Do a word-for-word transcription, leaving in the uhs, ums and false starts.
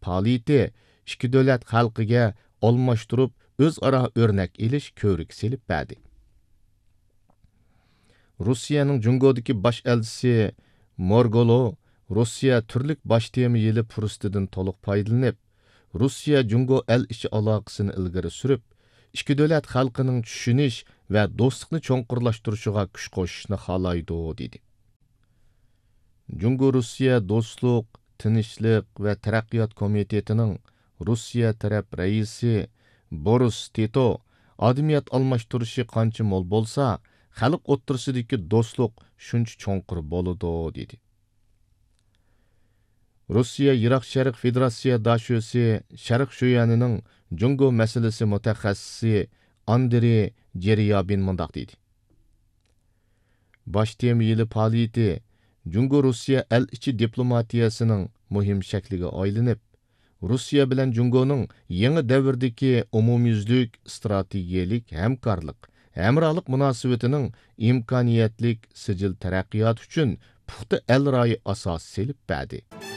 پائالىيىتى ئىككى دۆلەت خەلقىگە ئالماشتۇرۇپ، ئۆزئارا ئۆرنەك ئېلىش كۆۋرۈكى سېلىپ بەردى. روسىيەنىڭ جۇڭگودىكى باش ئەلچىسى مورگولو روسىيە تۈرلۈك باش تېما يىلى پۇرسىتىدىن تولۇق پايدىلىنىپ، روسىيە جۇڭگو ئەل ئىچى ئالاقىسىنى ئىلگىرى سۈرۈپ، ئىككى دۆلەت خەلقىنىڭ چۈشىنىش ۋە دوستلۇقنى چوڭقۇرلاشتۇرۇشىغا كۈچ قوشۇشنى خالايدۇ، دېدى. جۇڭگو روسىيە دوستلۇق، تىنچلىق ۋە تەرەققىيات كومىتېتىنىڭ روسىيە تەرەپ رەئىسى بورىس تىتو، ئادەمىيەت ئالماشتۇرۇشى قانچە مول بولسا، خەلق ئوتتۇرىسىدىكى دوستلۇق شۇنچە چوڭقۇر بولىدۇ، دېدى. روسىيە يىراق شەرق فېدېراتسىيە داشۆسى شەرق شۆيەنىنىڭ جۇڭگو مەسىلىسى مۇتەخەسسىسى ئاندرېي جېريابىن مۇنداق دېدى: باش تېما يىلى پائالىيىتى جۇڭگو روسىيە ئەل ئىچى دىپلوماتىيەسىنىڭ مۇھىم شەكلىگە ئايلىنىپ، روسىيە بىلەن جۇڭگونىڭ يېڭى دەۋردىكى ئومۇميۈزلۈك ئىستراتېگىيەلىك ھەمكارلىق، ھەمراھلىق مۇناسىۋىتىنىڭ ئىمكانىيەتلىك سىجىل تەرەققىياتى ئۈچۈن پۇختا ئەل رايى ئاساسى سېلىپ بەردى.